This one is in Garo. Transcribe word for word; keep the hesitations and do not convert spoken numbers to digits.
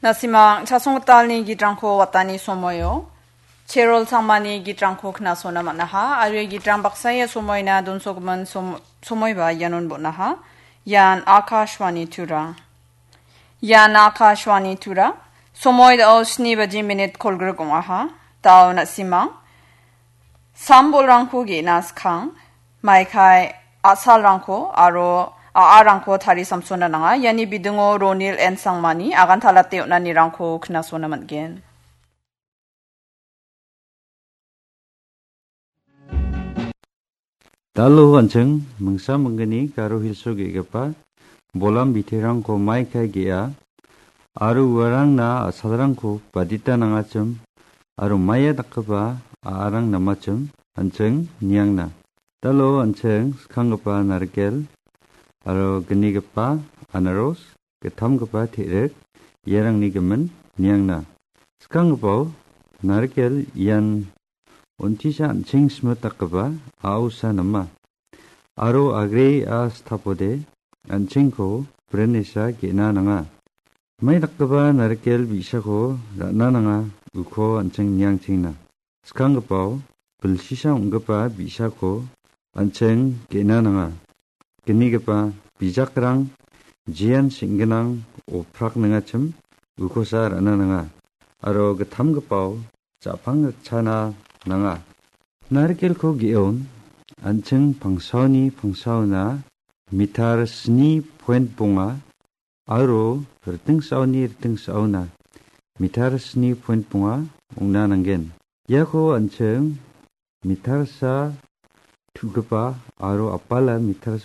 Na·simang chasonggitalni gitrangko watani somoio, Cherol Sangmani gitrangko knasona man·aha, aro ia gitrang baksa ia somoina donsogimin som-, somoiba ianon bon·aha. Ian Akashvani Tura. Ian Akashvani Tura. Somoi dao sni baji minit kolgrik ong·aha. Dao na·simang sam-bolrangko ge·na skang, maikai a·salrangko aro a·arangko tarisamsona nanga. Iani bidingo Ronil N Sangmani agan talate on·anirangko knasona man·gen. Dalo an·ching mingsa minggni Garo Hilso ge·gipa bolam biterangko maikai ge·a, aro uarangna a·salrangko badita nangachim, aro maia dakgipa a·arang namachim an·ching niangna. Dalo an·ching skanggipa narikel aro gnigipa anaros, gittamgipa te·rik, iarangni gimin niangna. Skanggipao narikel ian on·tisa an·ching smit dakgipa a·osa nama. Aro agre a·stapode an·chingko brenesa ge·na nanga. Mai dakgipa narikel bi·sako ra·na nanga, uko an·ching niangchingna. Skanggipao bilsisa ong·gipa bi·sako an·ching ge·na nanga. Gnigipa bijakrang jean seng·ginang oprak nangachim ukosa ra·na nanga. Aro gittamgipao ja·pang rikchana nanga. Narikelko ge·on an·ching pangsaoni pangsaona mitar sni point bonga aro ritingsaoni ritingsaona mitar sni point bonga ong·na nanggen. Iako an·ching mitarsa tu·gipa aro apala mitarsa